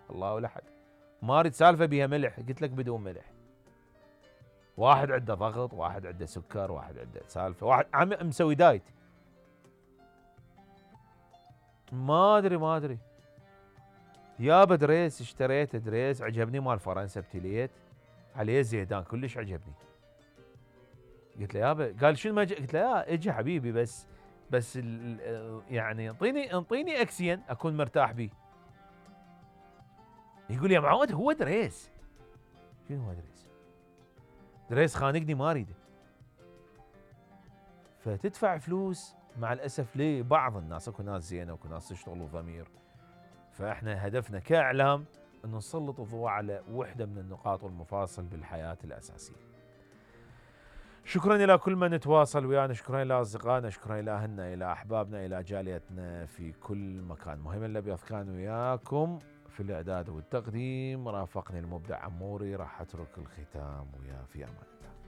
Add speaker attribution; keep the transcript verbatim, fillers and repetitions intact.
Speaker 1: الله ولا حد. ما اريد سالفه بيها ملح، قلت لك بدون ملح. واحد عنده ضغط، واحد عنده سكر، واحد عنده سالفه، واحد عم مسوي دايت. ما ادري ما ادري يابا دريس اشتريته دريس عجبني مال فرنسا ابتليت عليه زيدان كلش عجبني. قلت له يابا، قال شنو ما جي؟ قلت له لا اجي حبيبي بس بس يعني انطيني انطيني اكسين اكون مرتاح بيه. يقول يا معود هو دريس. شنو هو دريس؟ دريس خانقني ما اريده. فتدفع فلوس مع الاسف لبعض الناس، اكو ناس زينه واكو ناس تشتغل ضمير. فاحنا هدفنا كاعلام ان نسلط الضوء على وحده من النقاط والمفاصل بالحياه الاساسيه. شكرا الى كل من تواصل ويانا، شكرا الى اصدقائنا، شكرا الى اهلنا، الى احبابنا، الى جاليتنا في كل مكان. مهم الابيض كان وياكم في الاعداد والتقديم، رافقني المبدع عموري، راح اترك الختام وياه في امان الله.